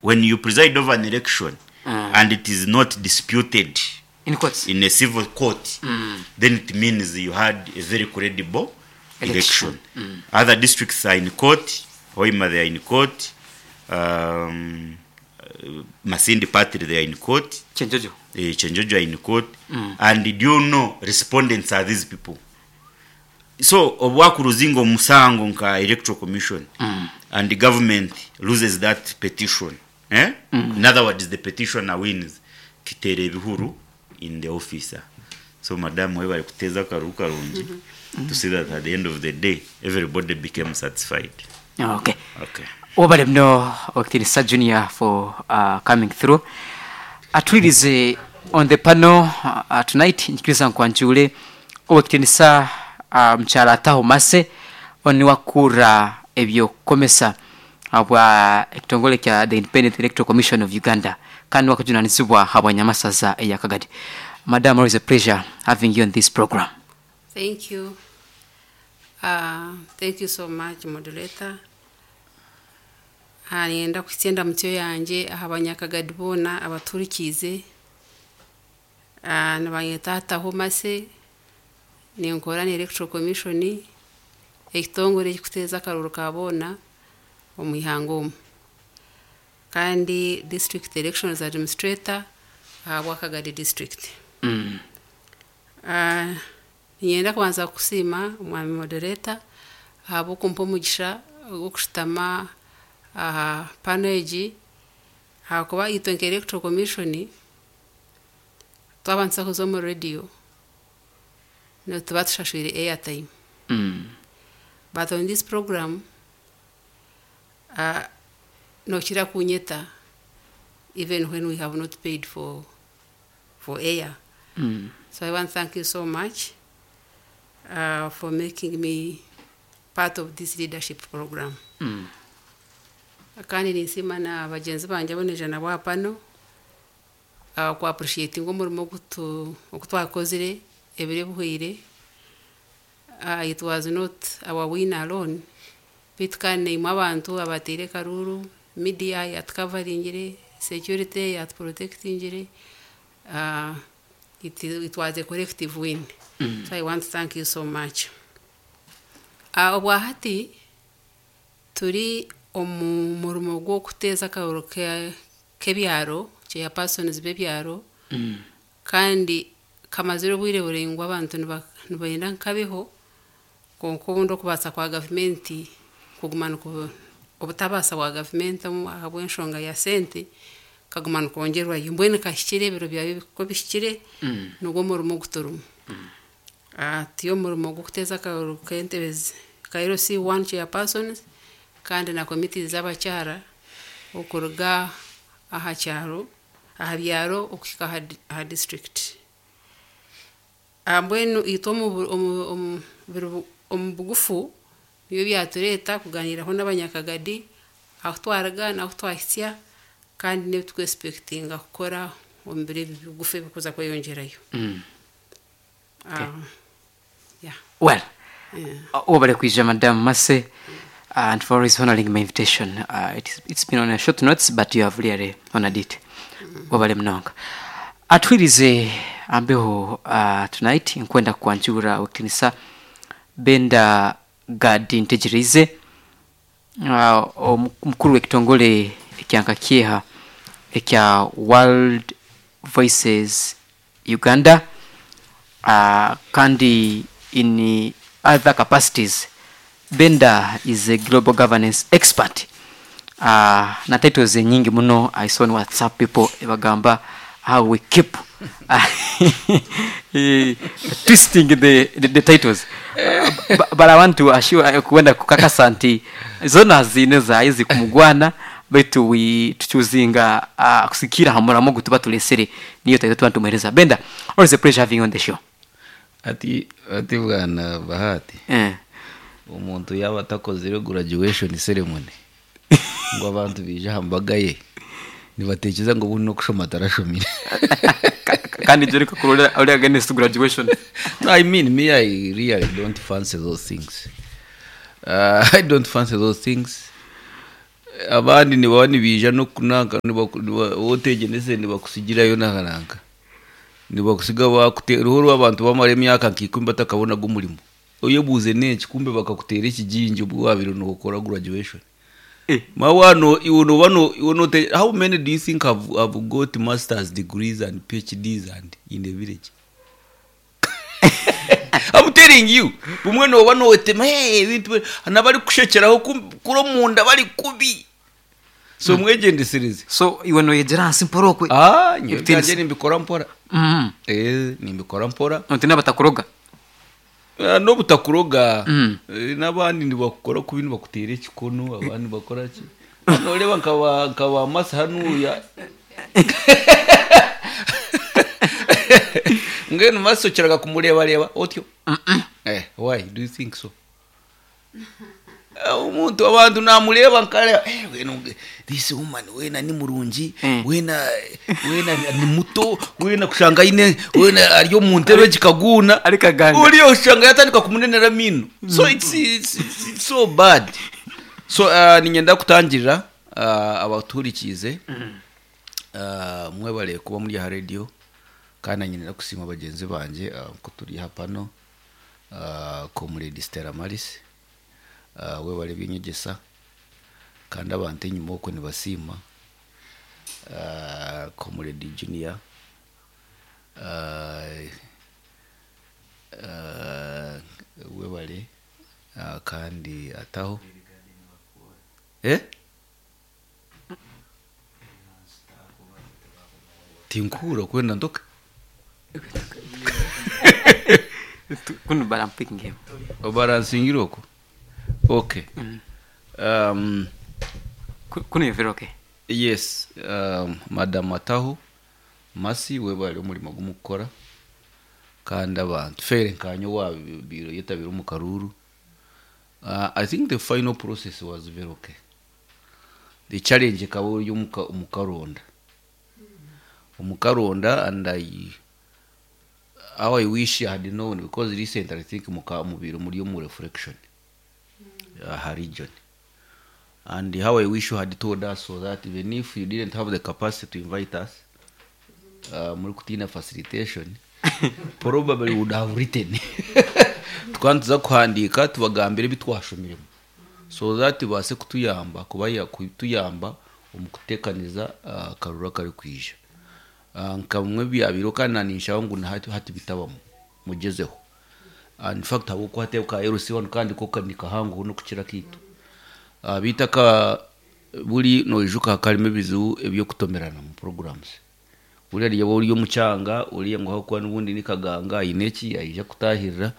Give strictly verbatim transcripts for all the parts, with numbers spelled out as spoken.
When you preside over an election Mm. and it is not disputed In courts. in a civil court, then it means you had a very credible Election. election. Other districts are in court. Hoima, they are in court. Um, uh, Masindi Party, they are in court. Kyenjojo. Uh, Kyenjojo are in court. And do you know respondents are these people? So obwakuruzinga omusango nka Electoral Commission and the government loses that petition, eh? In other words, the petitioner wins, kiteera ebihuru in the officer. So madam, webale kuteeza akaruru karungi to see that at the end of the day everybody became satisfied. Okay. Okay. Wabale muno, Owekitinisa Junior, for uh, coming through. Atwirize on the panel uh, tonight, njikiriza nkwanjule Owekitinisa uh, mukyala Ataho Mase oniwakura ebyokukomesa habwa ekitongole kya the Independent Electoral Commission of Uganda kandi wakujunanizibwa habwa Nyamasaza eya Kagadi. Madam, always a pleasure having you on this program. Thank you. Uh, thank you so much, moderator. Ah, Nienda kuhitsya endamutyo yangye aha banyakagadi boona abaturikiize. Ah, nibanyeta Ataho Mase, ninkora na Electoral Commission, ekitongore ekikuteeza akaruru ka boona omu ihanga omu. Kandi District Elections Administrator ahabwa Kagadi District. Mm. Ah, niinyenda kubanza kukusiima, omwami moderator, ahabw'okumpa omugisha gw'okushutama aha pano egi, ahakuba itwe nka Electoral Commission twaba nituza kuza omu radio nituba tushashwire airtime. Mm. But on this program uh, nokira kunyeta even when we have not paid for for air. Mm. So I want to thank you so much uh, for making me part of this leadership program. Mm. Kandi ninsiima na bagyenzi bangye abu niija nabo aha pano uh, ku appreciatinga omurimo ogu ogu twakozire ebiro ebihweire. Uh, it was not our win alone, beitu kandi naimwe abantu abateire akaruru, media yatucoveringire, security yatuprotectingire, uh, it, it was a collective win. Mm. So I want to thank you so much. Uh, obwahati turi omu murimo gw'okuteeza akaruru ke- k'ebyaro, chairpersons b'ebyaro, Mm. kandi kamazire obwire buraingwa abantu niba- nibenda nkabeho, konka obundi okubaasa kwa gavumenti kuguma niku obutabaasa bwa gavumenti omu- ahabw'enshonga ya sente kaguma nikwongyerwayo, mbwenu kahikire ebiro byawe ko bihikire. Mm. Nigwo omurimo ogu turimu. Ah, turi omurimo gw'okuteeza akaruru k'entebe zi- ka L C one chairpersons kandi na committees z'abakyara okuruga aha kyaro, aha byaro okuhika aha, di- aha district. Ah, mbwenu itwe omu bu- omu omu biro bu- omu bugufu nibyo byatureeta kuganiiraho n'abanyakagadi ahu twaruga n'ahu twahitsya kandi n'ebi tukwexpectinga kukora omu biro ebi bigufu ebikuza kweyongyerayo. Mm. Ah, yeah. Well, Yeah. wabale kwija, Madam Mase, and for always honoring my invitation. Uh, it is, it's been on a short notes, but you have really honored it. Wabale munonga. Atwirize ambeho uh, tonight nkwenda kwanjura Owekitinisa Benda Gadi Ntegerize, uh, omukuru w'ekitongole ekyanka kyeha ekya World Voices Uganda, uh, kandi in other capacities Benda is a global governance expert uh, na titles nyingi muno. I saw on WhatsApp people bagamba how we keep eh, twisting the, the, the titles, uh, but, but I want to assure, kuenda kukakasa nti zona zine zaizi kumugwana, baitu we tuchuzinga uh, kusikira hamuramo gutuba tulesere niyo title tuba tumuhereza. Benda, always a pleasure having you on the show. Ati ati bwana Bahati, eh. omuntu yaba atakozire graduation ceremony ngo abantu bije aha mbaga ye nibatekereza ngo buno kushoma atarashomire. Ka- kandi ibyo ariko kurora uri against graduation. No, I mean, me, I really don't fancy those things. uh, i don't fancy those things. Abandi nibaba nibiija nokunanka otegyenese nibakusigirayo nakananka nibakusiga bakute ruho rw'abantu bamara emyaka nka ikumi batakabonaga omurimo, oyebuuze n'enki kumbe bakakutera ekigingi obwo wabire nokora graduation. Eh. Mawano iwe noba no iwe note, how many do you think have, have got masters degrees and P H Ds and in the village? I'm telling you, bumwe noba nowetema, hey, ebintu nabari kushekyeraho kum- kuro munda bari kubi, so mwegendesereze. So iwe noyegyera ahansi mpora okwe? Ah, nyowe Ebitiinisa. byanje nimbikora mpora. Mm. Eh, nimbikora mpora. Notina batakuroga? Ah, n'obutakuroga. Mm. Eh, n'abandi nibakukora kubi, nibakutera ekikono, abandi bakora ki, noreba nkaba nkaba masi hanuya mbwenu masi okiraga kumurebareba otyo. Eh, why do you think so? Eh, omuntu abantu namureba nkareba, eh, wena this woman wena ni murungi, Mm. wena wena ni muto, wena kushanga ine wena ari omu ntebe kikaguna. Ari kaganga. Uriya ushanga yatandika kumunenera mino, so it's, it's, it's, it's so bad. So uh, ninyenda kutangirira uh, abaturikize, uh, mwebale kuba muri aha radio, kandi nanyenda kusiima bagenzi banje uh, ko turi hapano, uh, Comrade Stella Maris, uh, webale byenyegesa, kandi abantu enyuma okwo nibasiima, uh, Comrade Junior, uh, uh, webale, uh, kandi ataho eh tinkura kwenda ndoka. Kunu, but I'm picking him. Obaransingira okwo, okay. um, Ku- kuno you're very okay. Yes, um, Madam Ataho Masi, webale omurimo gumukukora, kandi abantu fere nkanyo wabiro yetabira omu karuru. uh, i think the final process was very okay. The challenge ekaba ori omuka- omukaronda omukaronda and I, how I wish I had known, because recently I think muka mubiro muri omu reflection uh, region, and how I wish you had told us so that even if you didn't have the capacity to invite us, uh, muri kutina facilitation, probably would have written twantuza kuhandika tubagambire ebitwashomiremu so that base kutuyamba kubaya kutuyamba omu kutekaniza uh, akaruru akari kwija. uh, nkamwe byabiro kandi nanishaho ngu nahati hati bitabamu mugezeho. Uh, in fact habwokuba hateeka L C one kandi ko nikahangu nokukira kitu, uh, bitaka buri noijuka karimo ebizibu ebyokutomerana mu programs, buriya ryaba ori omukyanga uriya ngu hakuba n'ubundi ni kaganga aine eki aija kutahirira,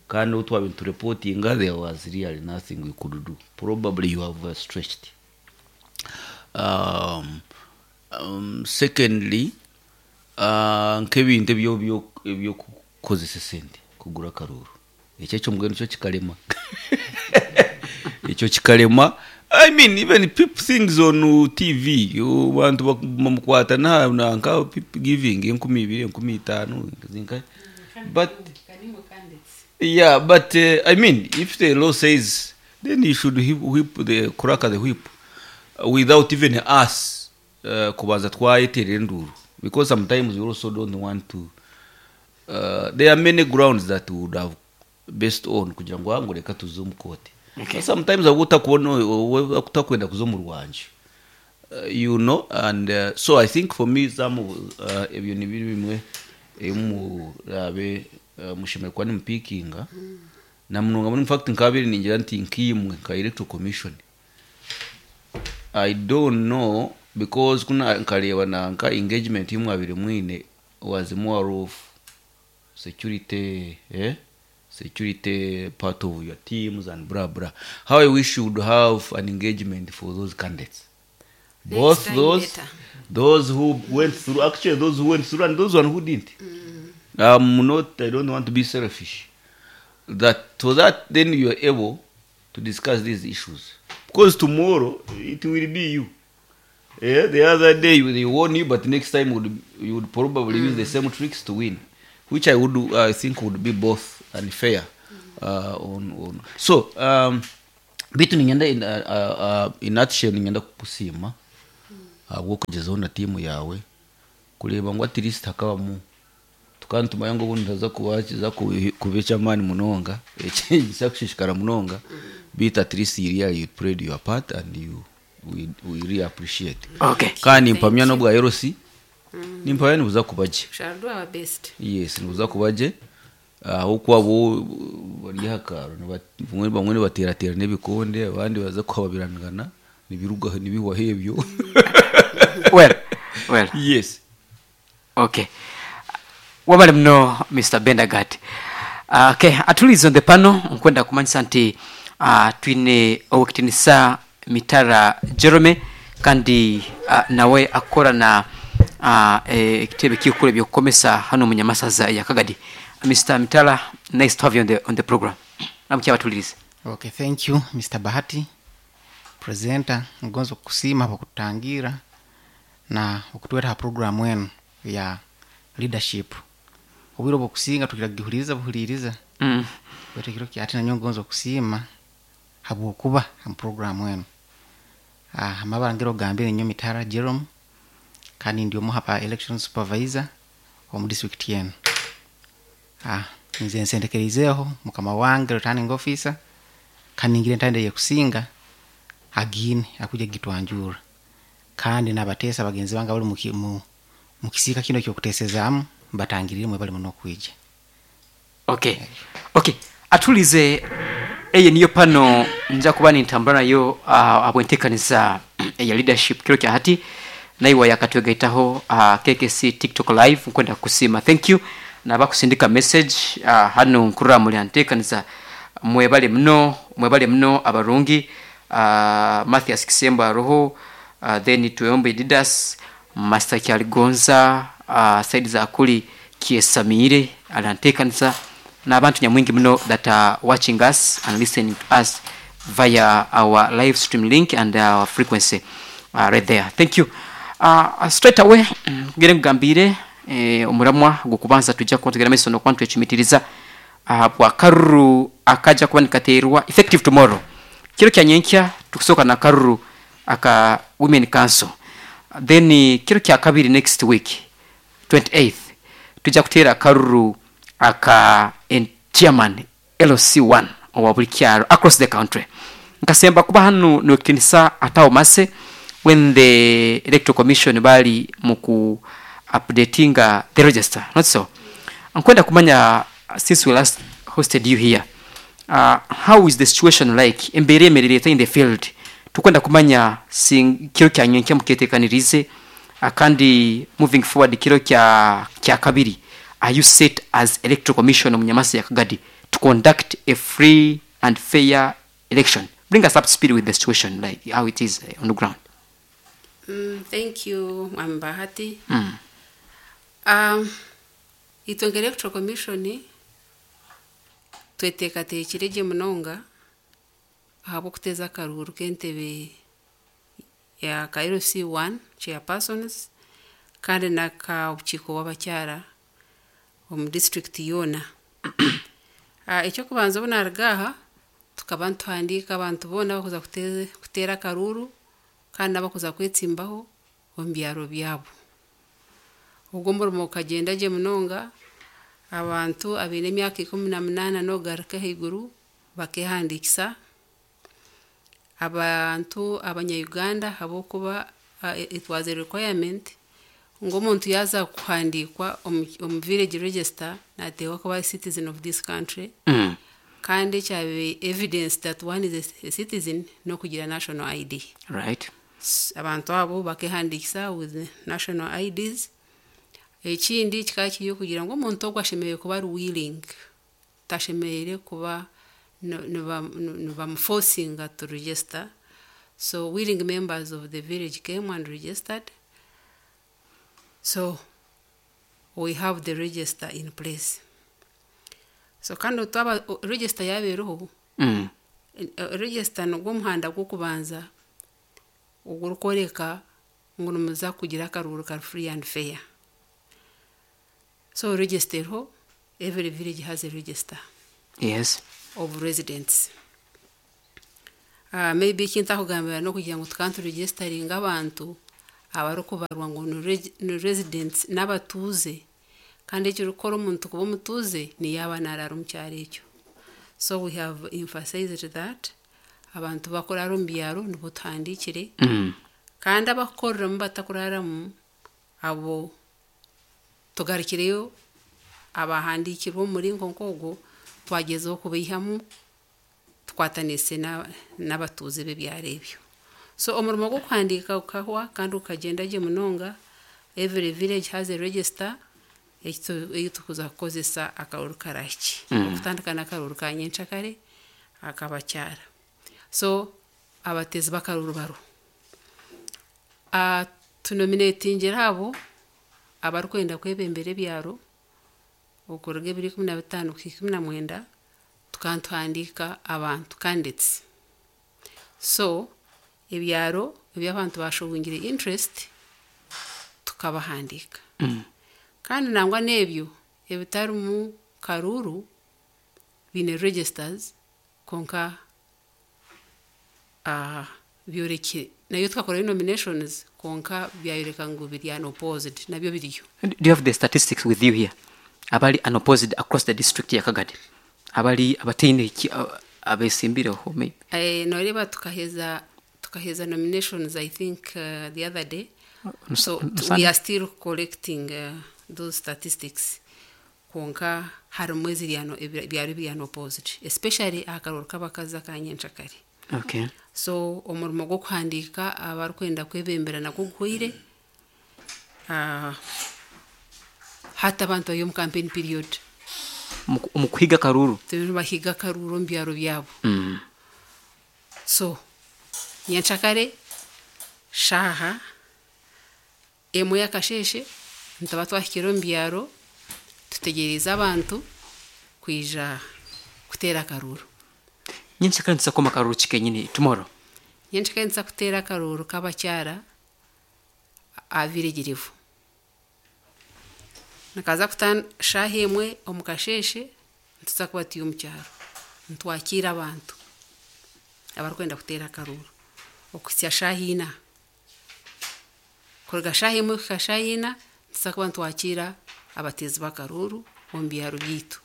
kandi obu twaba nitureportinga there was really nothing we could do. Probably you have uh, stretched. um, um, secondly uh, nk'ebintu ebyo ebyo- ebyokukozesa esente kugura akaruru, ekyo ekyo mbwenu kyo kikarema, ekyo kikarema. I mean, even people things on T V, yo, bantu bamukwata na nanka people giving enkumi ibiri, enkumi itaano zinka, but yeah, but uh, I mean, if the law says, then you should whip, whip the crack the whip uh, without even us uh, kubanza twayeterera enduru, because sometimes we also don't want to, uh, there are many grounds that we would have based on kugira ngo ngo reka tuze omu kooti. Okay. Sometimes aba utakubona utakwenda kuza omu rwanje, uh, you know and uh, so I think for me some uh, ebyo ni biri bimwe emurabe uh, mushemere kuba nimupikinga na munonga muri, in fact nkabiri ningira nti nkimwe nka Electoral Commission, I don't know, because kuna nkareba nanka engagement y'umwabiri mwine was more of security, eh? Security part of your teams and blah blah. How I wish you would have an engagement for those candidates, Next both time those better. Those who went through, actually those who went through and those one who didn't. Um not, I don't want to be selfish, that so that then you are able to discuss these issues, because tomorrow it will be you. Yeah, the other day they won you, but next time would you would probably use the same tricks to win, which I would I think would be both unfair. Uh, on, on. So um, Bitu ninyenda in, uh, uh, in nutshell ninyenda kukusiima ahabw'okugezaho na tiimu yawe kureeba ngu at least hakabamu tukantumanya ngu obundi ntaza kuba kuba eky'amaani munonga ekisa kushishikara munonga, bitu at least really you played your part and you we, we really appreciate. Okay. Kandi mpamya n'obwa L C nimpamya nibuza kuba gye. Shall do our best. Yes, nibuza kuba gye, aho bo bari aha karo bamwe bamwe nibateratera n'ebikonde, abandi baza kuhababirangana nibiruga nibihwaho ebyo. Well, well. Yes. Okay, wabale muno, Mister Bendagat. uh, okay atulize on the panel, nkwenda kumanyisa nti uh, twine owekitinisa Mitara Jerome, kandi uh, nawe akora na uh, ekitebe kikuru ebyokukomesa hano munyamasaza ya Kagadi. Mister Mitara, nice to have you on the, on the program. Namukyabatulize. Okay, thank you, Mister Bahati. Presenter, ngonzo kusiima okututangira na okutweta ha program enu ya leadership. Obwire obwokusinga tukiragihuliriza buhuliriza. mm. Baitu ekiro kyati nanyo ngonzo kusiima habwokuba ha program enu. Ah, amabara ngira ogambire nyo Mitara Jerome, kandi ndi omu hapa election supervisor omu district yenu. Ah, nze nsendekereizeho mukama wange returning officer, kandi ngire ntande yekusinga agine akuja gitwanjura, kandi nabateesa bagenzi bange abali muki- mu mukisiika kino kyokutesezaamu mbatangirire mwe bali muno okwija. okay okay atulize, eye niyo pano nja kuba nintambula nayo uh, abwenteekaniza eya leadership kiro kya hati naiwa yakatwegaitaho uh, K K C TikTok live. Nkwenda kusiima, thank you, nabakusindika message uh, hano nkurra muli anteekaniza. Mwebale muno, mwebale muno abarungi. uh, Mathias Kisembo aroho, uh, then Tuyombe Didas, Master Kyaligonza, uh, saidi za kuli Kiesamire alanteekaniza, n'abantu nyamwingi muno that are watching us and listening to us via our live stream link and our frequency uh, right there. Thank you. uh, straight away ngere nkugambire eh, omuramwa gukubanza tujja kuba tugenda maiso nokuba nitwecumitiriza uh, bwakaruru akaja kuba nikaterwa effective tomorrow, kiro kya nyenkya. Tukusooka na karuru aka women council, then kiro kya kabiri next week twenty-eighth tujja kuteera akaruru aka en- chairman L C one owa buli kyaro across the country. Nkasemba kuba hano nokitinisa atawo mase when the Electoral Commission bali muku updatinga the register, not so? Nkwenda kumanya, since we last hosted you here, uh, how is the situation like, embeera emerere in the field? Tukwenda kumanya sing- kiro kya nyenkya muketekanirize, uh, kandi moving forward kiro kya kya kabiri, are you set as Electoral Commission omunyamasi ya Kagadi to conduct a free and fair election? Bring us up to speed with the situation, like how it is uh, on the ground. Mm, thank you, Mwami Bahati. mm. Um, itwe nka Electoral Commission tweteekateekire gye munonga ahabw'okuteeza akaruuru k'entebe ya ka L C one chairpersons kandi n'akabukiiko bw'abakyara omu district yoona. Ah, ekyokubanza, obu naruga aha tukaba nituhandiika abantu boona abakuza kute- kuteera akaruuru kandi n'abakuza kwetsimbaho omu byaro byabo. Ogwo omurimo gukagenda gye munonga, abantu abaine emyaka ikumi na munaana n'okugaruka ahaiguru bakehandiikisa, abantu abanya-Uganda, habwokuba uh, it was a requirement ngu omuntu yaaza kuhandiikwa omu omu village register nateekwa kuba a citizen of this country, Mm. kandi ekyabe evidence that one is a citizen n'okugira national I D. Right S- abantu abo bakehandiikisa with national I Ds. Ekindi kikaba kiri okugira ngu omuntu ogwo ashemereire kuba ari willing, tashemereire kuba nibamuforcinga to register. So willing members of the village came and registered, so we have the register in place. So kandi twaba register yabeereho, mm. register nigwo omuhanda gw'okubanza ogurikworeka ngu nimuza kugira akaruuru kari free and fair. So register eriho, every village has a register yes of residents. Uh, maybe ekintakugambira n'okugira ngu tukaba nituregisteringa abantu abarikubarwa ngu ni reg- ni residents n'abatuuze, kandi ekirikukora omuntu kuba omutuuze niyaaba naaraara omu kyaro ekyo. So we have emphasized that abantu bakuraara omu byaro nibo tuhandiikire, Mm. kandi abakukoreramu batakuraramu abo tugarukireyo abahandiikirwe omu muringo nk'ogwo twagyezaho kubaihamu tukwatanise na- n'abatuuze b'ebyaro ebyo. So omurimo gw'okuhandiika gukahwa kandi gukagyenda gye munonga. Every village has a register ekitu- ei tukuza kukozesa akaruru karahiki, Mm. okutandika n'akaruru ka nyenkyakare akabakyara. So abateezi b'akaruru bariho. Uh, tunominatingire abo abarikwenda kwebembera ebyaro okuruga ebiro ikumi na bitaano kuhika ikumi na mwenda, tukaba nituhandiika abantu candidates. So ebyaro eby'abantu bashowingire interest tukabahandiika. Mm. Kandi nangwa n'ebyo ebitarimu karuuru biine registers, konka uh, byorekire nayo tukakorayo nominations, konka byayoreka ngu biri unopposed, nabyo biriyo. Do you have the statistics with you here, abali unopposed across the district ya Kagadi, abali abataine ki- a- abesimbireho maybe? Eh, noreeba tukaheza tukaheza nominations, I think uh, the other day. On So on t- we Sunday? are still collecting uh, those statistics, konka harimu eziri ano ebyaro ebiri unopposed, especially aha karuru k'abakazi aka nyenkyakare. Okay. So omurimo gw'okuhandiika abarikwenda kwebembera nagwo guhweire. uh, hati abantu bari omu campaign period. Omu- omu kuhiga karuru. Turiyo nibahiga akaruru omu byaro byabo. Mm. So nyenkyakare shaaha emwe y'akasheeshe nituba twahikire omu byaro, tutegereze abantu kwija kuteera akaruru. Nyenkyakare nituza karuru ki kenyini tomorrow? Nyenkyakare nituza kuteera akaruru k'abakyara aha village level. Nikaza kuta shaaha emwe omu kasheeshe, nituza kuba turi omu kyaro nitwakiira abantu abarikwenda kuteera akaruru okuhitsya shaaha ina. Kuruga shaaha emwe kuhika shaaha ina nituza kuba nitwakiira abateezi b'akaruru omu byaro byaitu.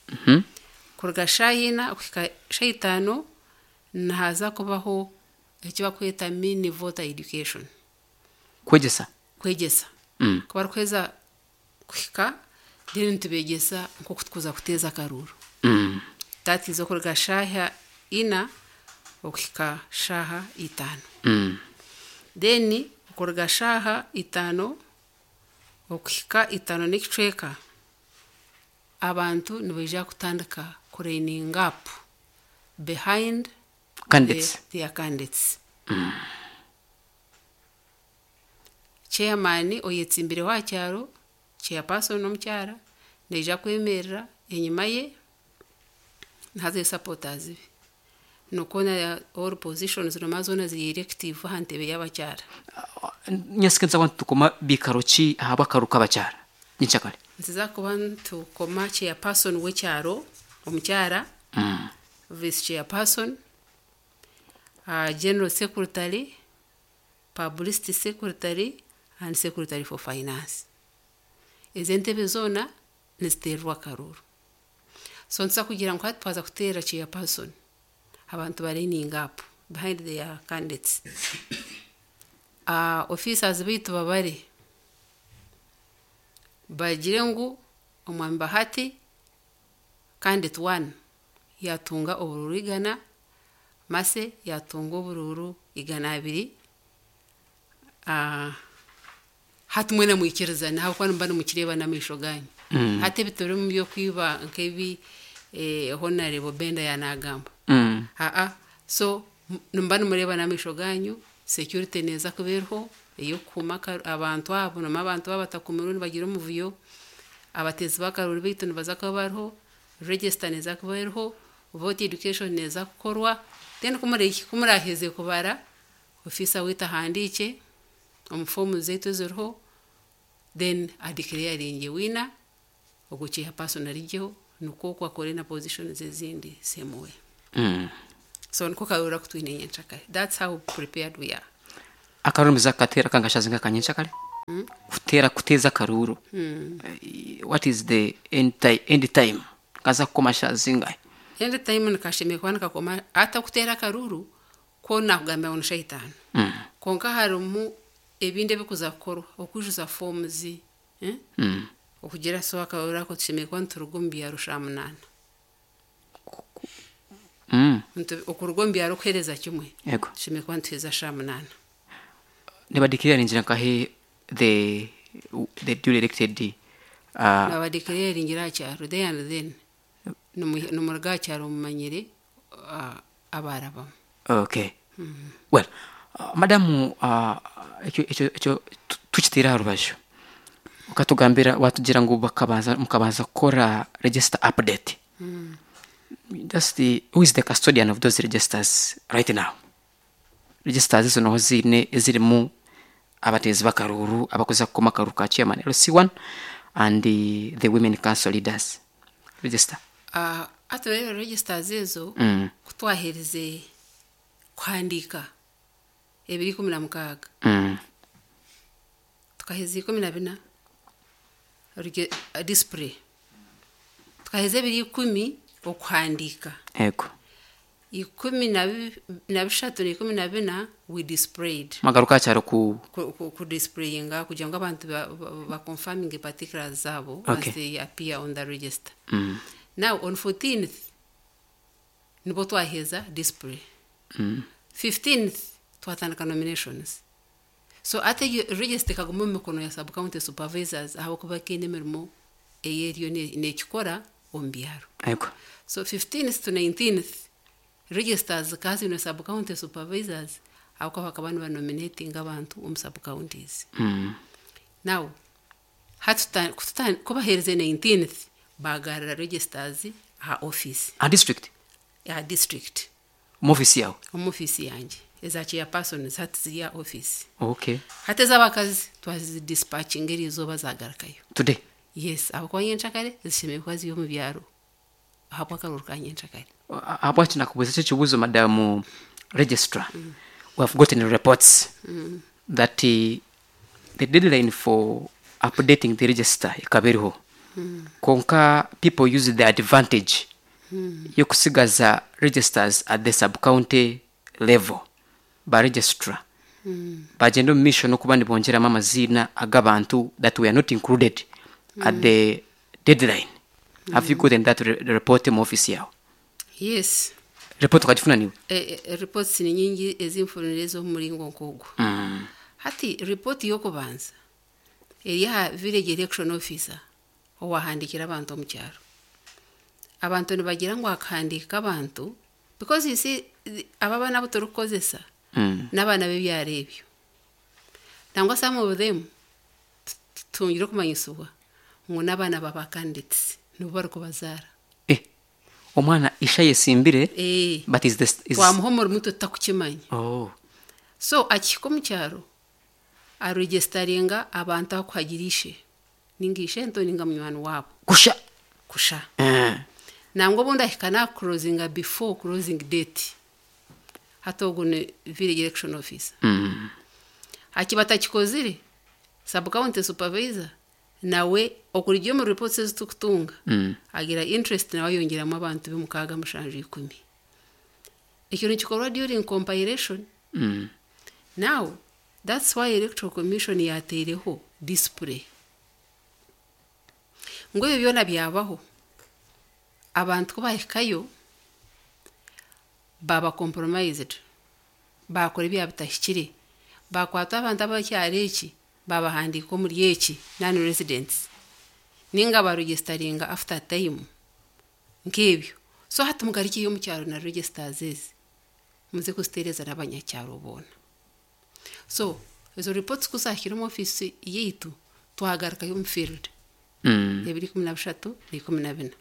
Mhm. Kuruga shaaha ina okuhika shaaha itaano nihaza kubaho eki bakweta mini voter education. Kwegyesa. Kwegyesa. Mm. Ku barikuheza kuhika, then nitubeegyesa nk'oku tukuza kuteeza akaruru. Mm. That is okuruga shaaha ina okuhika shaaha itaano. Mm. Then okuruga shaaha itaano okuhika itaano n'ekicweka, abantu nibaija kutandika kulining up behind candidates, the, their candidates. Chairman oyetsimbireho aha kyaro, chairperson omukyara, naija kwemerera enyima ye nihazayo supporters be, nikwo na all positions noma zoona ziri elective aha ntebe y'abakyara. Nyasike nituza kuba nitukoma bikaro ki ahabw'akaruru k'abakyara nyenkyakare? Nituza kuba nitukoma chairperson w'ekyaro omukyara, Mm. vice chairperson, uh, general secretary, publicity secretary and secretary for finance. Ezi entebe zoona niziteerwa akaruru. So nituza kugira ngu hati twaza kuteera chairperson, abantu balining up behind their candidates. Uh, officers baitu babare bagire ngu omwami Bahati candidate one yatunga obururu igana, Mase yatunga obururu igana abiri. uh, hati mwena mwikirizana ahabw'okuba nimuba nimukireeba n'amaisho ganyu. Mm. Hati ebiturimu by'okwiba nk'ebi eh, Honorable Benda yanagamba, Mm. aa so m- nimuba nimureeba n'amaisho ganyu. Security neeza kuba eriho ey'okukuuma aka- abantu abo, noma abantu baba batakumirwe nibagira omuvuyo. Abateezi b'akaruru baitu nibaza kuba bariho, register neeza kuba eriho, vote education neeza kukorwa. Then kumuri- kumuraheze kubara, officer waitu ahandiike omu fomu zaitu eziriho, then adeclaringe winner, ogwo chairperson arigyeho, nikwo oku akore na positions ezindi same way. Mm. So niko karura kutwine nyenchakare. That's how prepared we are. Akarumiza katera kangashazi nkakanyenchakare kutera kuteza karuru. Eh, what is the end, ti end time kaza kukoma shazinga? End time nikashemeye kuba nikakoma ata kutera akaruru ko nakugambira ngu ni itaano. Mm. Konka harimu ebindi ebikuza kukorwa, okwijuza forms, eh? Mm. Okugira so akaruru ako tushemeye kuba nituruga omu byaro sha munaana. Mm. Nitu- okuruga omu byaro kuhereza kimwe Yego. tushemeye kuba nituheza sha munaana. Nibadikirira ningira nkahe the the duly elected uh, Nabadikirira ngira aha kyaro there and then Nimu- nimuruga aha kyaro mumanyire uh, abaarabamu. Okay, well, uh, madamu, uh, ekyo ekyo ekyo tu- tukiteere aha rubaju, ukatugambira watugira ngu bakabanza mukabanza kukora register update. Just the, who is the custodian of those registers right now? Registers ezo noho ziine ezirimu abateezi b'akaruuru abakuza kukoma akaruuru ka chairman L C one and the, the women council leaders register. Uh, ati rero registers ezo, mm. kutwaherize kuhandiika ebiri ikumi na mukaaga, Mm. tukaheza ikumi na bina ruge- uh, display, tukaheza ebiri ikumi okuhandiika, Ego. ikumi na bi- na bishatu na ikumi na bina we displayed. Magaruka kyaro ku ku, ku, ku displayinga kugira ngu abantu ba, ba, ba confirming particulars zabo Okay. as they appear on the register. mm. Now on fourteenth nibo twaheza display. Mm. fifteenth twatandika nominations. So ate egyo register ekaguma omu mikono ya sub county supervisors ahabwokuba kiine emirimo eyeriyo ne- nekikora omu byaro. Ego. So fifteenth to nineteenth registers zikaba ziine sub county supervisors ahabwokuba bakaba nibanominatinga abantu omu sub counties. mm. Now hati tuta- kututa- kubaheereze nineteenth, bagarira registers aha office. A district? Ya district. Mu office yawe? Omu office yangye. Eza chairpersons hati ziri aha office. Okay. Hati ez'abakazi twazidispatchinga eriizooba zagarukayo. Today? Yes, ahabwokuba nyenchakare zishemereire kuba ziri omu byaro ahabw'akaruru ka nyenchakare. Ahabwaki nakubuuza ekyo ekibuuzo, madamu registrar, we have gotten reports that uh, the deadline for updating the register ekaba eriho, konka people use the advantage yokusigaza registers at the sub-county level. Ba registrar bagenda omu maisho n'okuba nibongyeramu amaziina ag'abantu that were not included at the deadline. Have you gotten that re report mu office yawe? Yes. Report ukagifuna niwe? E, e, reports ni nyingi ezinfunire ez'omuringo nk'ogwo. mm. Hati report y'okubanza eri aha village election officer owahandikira abantu omu kyaro. Abantu nibagira ngu akahandiika abantu because you see the- aba abaana abu turikukozesa Mm. n'abaana b'ebyaro ebyo, nangwa some of them tutungire okumanyisibwa ngu n'abaana baba candidates nibo barikubazaara. Eh, omwana isha yesimbire? Eh. But is this is Twamuha omurimo itwe tutakukimanya. Oh. So akihika omu kyaro aregestaringa abantu akuhagira ishe ninga ishe nto ninga munywani waabo. Kusha? Kusha. Eh. Nangwa obundi ahika nakuclosinga before closing date. Hati ogwo ni village election officer. Mm. Akiba atakikozire, sub county supervisor nawe okuruga omu reports ezi tukutunga, Mm. agira interest nawe ayongyeramu abantu b'omukaaga, mushanju, ikumi. Ekyo nikikorwa during compilation. Mm. Now that's why Electoral Commission yateireho display ngu ebyo byona byabaho, abantu ku bahikayo baba compromised, bakora ebyaba bitahikire, bakwata abantu abakyaro eki babahandiika omuri eki non residents ninga baregisteringa after time nk'ebyo. So hati mugarukiyo omu kyaro na registers ezi muze kuziteereza n'abanyakyaro boona. So ezo reports kuzahikire omu office yaitu, twagarukayo omu field Mm. ebiri ikumi na bishatu na ikumi na bina.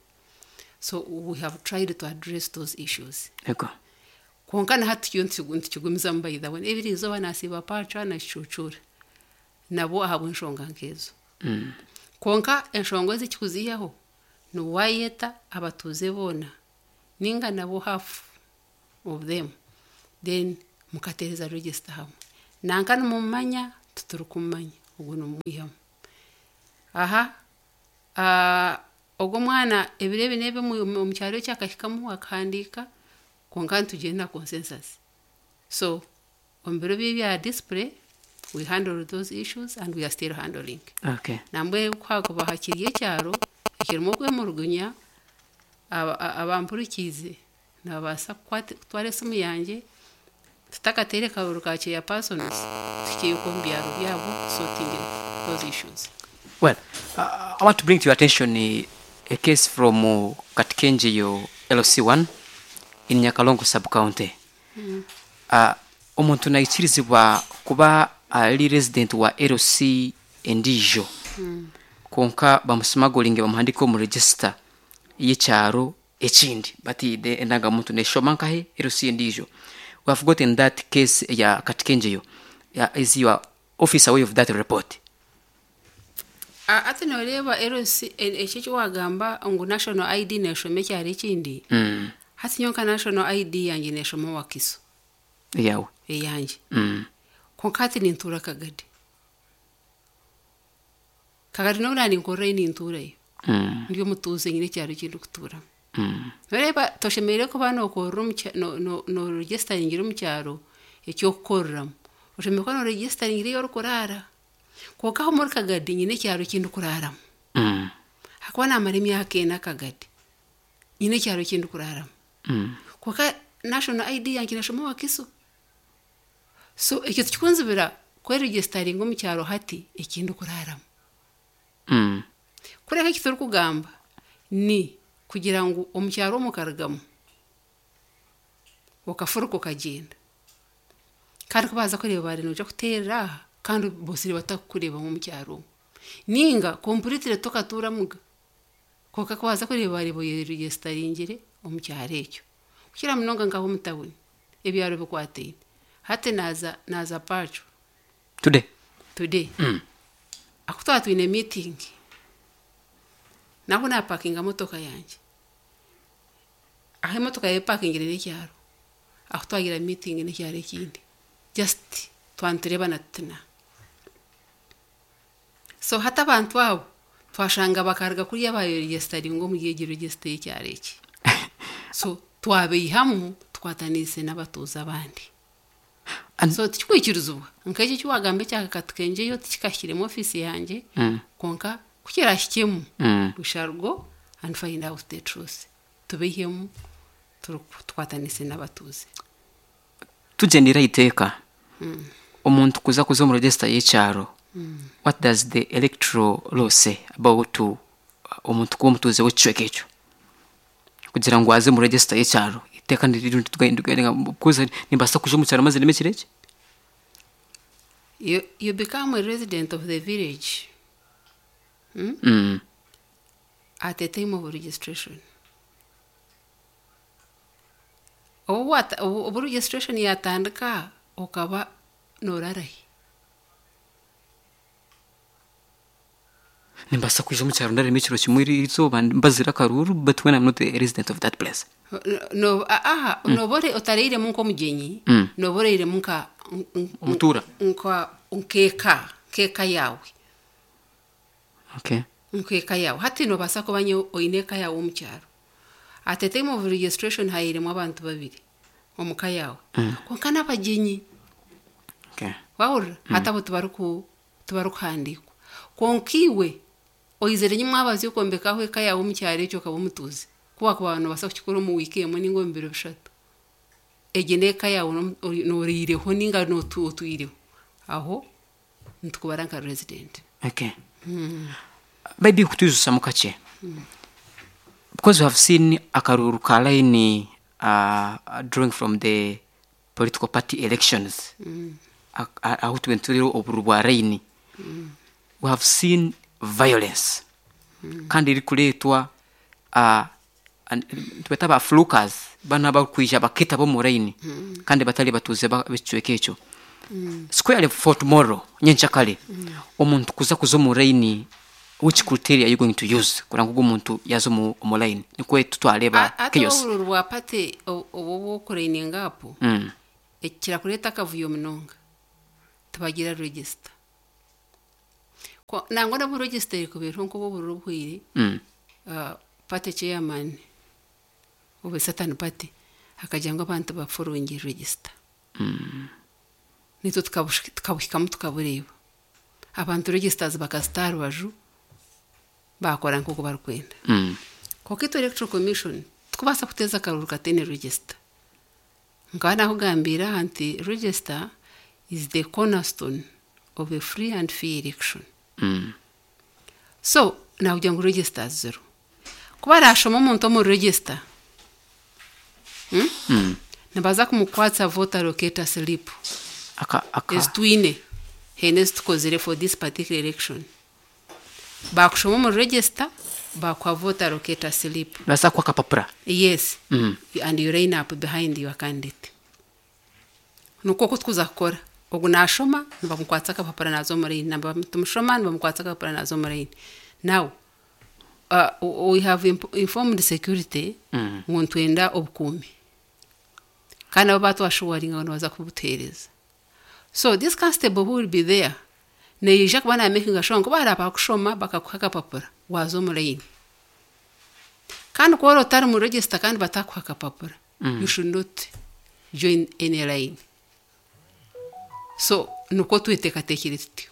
So we have tried to address those issues. Ego. Konka na hati tukiyo nitukigu- nitukigumizamu. By the way, ebiri izooba nasiiba Pacca na Kicucura nabo ahabw'enshonga nk'ezo. Mm. Konka enshonga ezi ekikuziihaho niwayeta abatuuze boona ninga nabo hafu. of them, then mukateereza register hamwe. Nanka nimumumanya, titurikumumanya, ogwo nimumwihamu. Aha, ah, ogwo omwana ebiro ebi n'ebi omu omu kyaro ekyo akahikamu akahandiika, kwonka nitugyenda consensus. So omu biro bye ebya display, we handle those issues and we are still handling. Okay. Nambwenu ku hakuba hakiri ekyaro ekirimu okwemurugunya, aba- a- abampurikiize nibabaasa kukwata kutwara esimu yangye, tutakateire karuru ka chairpersons, tuhikyeyo omu byaro byabo sorting those issues. Well, uh, I want to bring to your attention uh, a case from uh, Katkenjeyo L C one in Nyakalongo sub-county. Mm. Uh, omuntu naikirizibwa kuba ali resident wa L C endiijo mm. konka bamusimagolinge bamuhandike omu register y'ekyaro ekindi, but the endangamuntu neshoma nkahe L C endiijo. We have gotten that case ya Katkenjeyo. Yeah, is your office aware of that report? A- ati nooreeba L C ekyo eki wagamba ngu national I D neeshoma ekyaro ekindi, mm. hati nyowe nka national I D yangye neeshoma Wakiso. Yawe? Eyangye. mm. Konka hati nintuura Kagadi. Kagadi n'obu naninkorerayo, nintuurayo. Mm. Ndi omutuuze, nyine ekyaro eki ndikutuuramu. Mm. Noreeba toshemereire kuba nookorera omu kya- no- no- nooregestaringira omu kyaro ekyokukoreramu, oshemereire kuba nooregestaringira ei orikuraara. Konka aho muri Kagadi nyine ekyaro eki ndikuraaramu. Mm. Hakuba naamara emyaka ena Kagadi, nyine ekyaro eki ndikuraaramu. Mm. Konka national I D yangye neshoma Wakiso, so ekyo tikikunzibira kweregestaringa omu kyaro hati eki ndikuraaramu. Mm. Kureka eki turikugamba ni kugira ngu omu kyaro omu okarugamu okafuruka okagyenda, kandi ku baaza kureeba bari noija kuteerera aha kandi bosire batakukureebamu omu kyaro omu, ninga completely tokatuuramuga, konka ku baaza kureeba bareeba oyeregestaringire omu kyaro ekyo. Kukira munonga nkaho omu tawuni ebyaro bikwataine. Hati naaza naaza Pacho. Today? Today. Mm. Aku twaba twine meeting, naho napakinga motoka yangye, aho emotoka yepakingire n'ekyaro aho twagira meeting n'ekyaro ekindi, just twantureebana tutina. So hati abantu abo twashanga bakaruga kuriya bayeregestaringa omuri egi register y'ekyaro eki, so twabeihamu tukwataniise n'abatuuze abandi. And- So tikikwikirizibwa nk'ekyo eki wagamba ekya Katukenjeyo, tikikahikiremu ofiisi yangye. Mm. Konka kukirahikemu, Mm. we shall go and find out the truth, tubeihemu turi- tukwatanise n'abatuuze. Tugendera iteeka, omuntu kuza kuza omu register y'ekyaro, what does the electoral law say about uh, omuntu kuba omutuuze w'ekicweka ekyo kugira ngu aze mu register y'ekyaro? Iteeka kuza nimbaasa kuja omu kyaro maze neme ekiro eki? you, you become a resident of the village hmm? Mm. At the time of registration. Obu wata- obu obu registration yatandika okaba norarahi? Nimbaasa kwija omu kyaro ndarema ekiro kimwe eri izooba mbazire akaruru, but when I'm not a resident of that place? No, aha noba ore- otareiremu nk'omugyenyi. Mm. Noba oreiremu nka nk- Omutuura. Nka nkeeka nkeeka yaawe. Okay. Nkeeka yaawe. Hati nobaasa kuba nyowe oine eka yaawe omu kyaro, at the time of registration hairemu abantu babiri omu ka yaawe, Mm. konka n'abagyenyi. Okay. Wahurira? Hati abo tibariku tibarikuhandiikwa, konka iwe oizire nyimwabazi okombekaho eka yaawe omu kyaro ekyo, okaba omutuuze, kuwakuba nobaasa kukikora omu wiiki emwe ninga omu biro bishatu, egi n'eka yaawe, nomu- ori- nooriireho ninga notu- otwireho aho, nitukubara nka resident. Okay, maybe kutwijusamu kakye, because we have seen akaruru ka line uh, drawing from the political party elections, A- a- aho tube turiro oburu bwa line, we have seen violence kandi erikureetwa uh, and- tubeta ba flukers, bana bakwija bakita bo mu line kandi batali batuuze ba- b'ekicweka ekyo. Squarely for tomorrow, nyenkyakare, omuntu kuza kuza omu line Which criteria are you going to use kuranga ogu omuntu yaza omu omu line nikwe tutwareba ate chaos? Obururu bwa party obu obw'okulininga up, mm. ekirakureeta akavuyo munonga, tibagira register. Ko- nangwa n'obu register erikubeeraho nk'obu obururu obuhweire, Mm. uh, party chairman obu certain party akagira ngu abantu bafollowing register, Mm. nitwe tukabush- tukabuhikamu tukabureeba, abantu registers bakazita aha rubaju, bakora nk'oku barikwenda. Mm. Konka itwe Electoral Commission tukubaasa kuteeza akaruru kataine register. Nkaba nakugambira aha nti register is the cornerstone of a free and fair election. Mm. So nakugira ngu register zero kuba arashoma omuntu omu register, hmm? Mm. Nibaza kumukwatsa voter locator slip. Aka aka Ezitwine hene ezitukozire for this particular election, bakushoma omu register, bakuha voter locator slip. Baza kuha akapapura? Yes. Mm. And you line up behind your candidate. Nukwo oku tukuza kukora. Ogu nashoma, nibamukwatsa akapapura, naza omu line. Tumushoma, nibamukwatsa akapapura, naza omu line. Now uh, we have imp- informed security Mm. ngu nitwenda obukuumi, kandi nabo batwashuwaringa ngu nibaza kubutuheereza. So this constable who will be there neija kuba namakinga sure ngu baraba bakushoma, bakakuha akapapura, waza omu line. Kandi kuba otari mu register kandi batakuha akapapura, Mm. you should not join any line. So nukwo tweteekateekire tutyo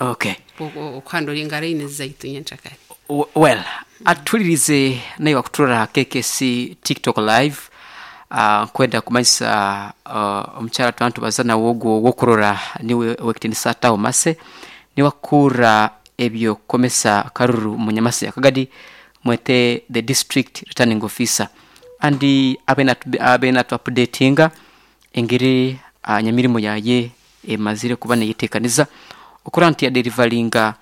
Okay. okuhandlinga line zaitu nyenkyakare. W- well atulirize naye wakuturora K K C TikTok live, uh, nkwenda kumanyisa uh, omukyala tuba tubaza nawe ogwo wokurora niwe wekitinisa taho mase, niwakura ebyokukomesa karuru munyamasi akagadi mwete the district returning officer, and abena updatinga engeri uh, nyamirimo yaye emazire kuba neyetekaniza okura nti yadeliveringa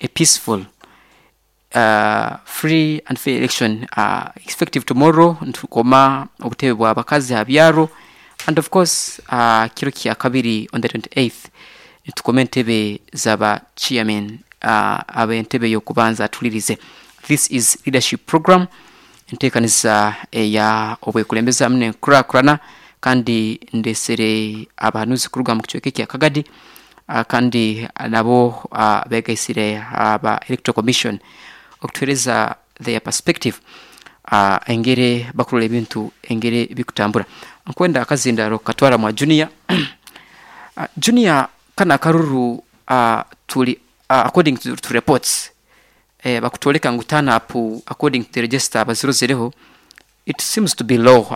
a peaceful, uh, free and fair election uh, effective tomorrow. Ntukoma obutebe bwa bakazi ha byaro, and of course uh, kiro kya kabiri on the twenty-eighth nitukoma entebe zaba chairman uh, ab'entebe y'okubanza. Atulirize, this is leadership program, enteekaniza eya obwekulembeza hamwe n'enkurakurana, kandi ndesere abahanuzi kuruga mu kicweka ekya Kagadi, uh, kandi nabo uh, begaisire aba Electoral Commission okutuhereza their perspective, uh, engeri bakurora ebintu engeri bikutambura. Nkwenda akazindaro katwara mwa Junior. uh, junior kana akaruru uh, tuli uh, according to, to reports, eh, bakutoleka ngu turn up according to the register bazirozereho, it seems to be low.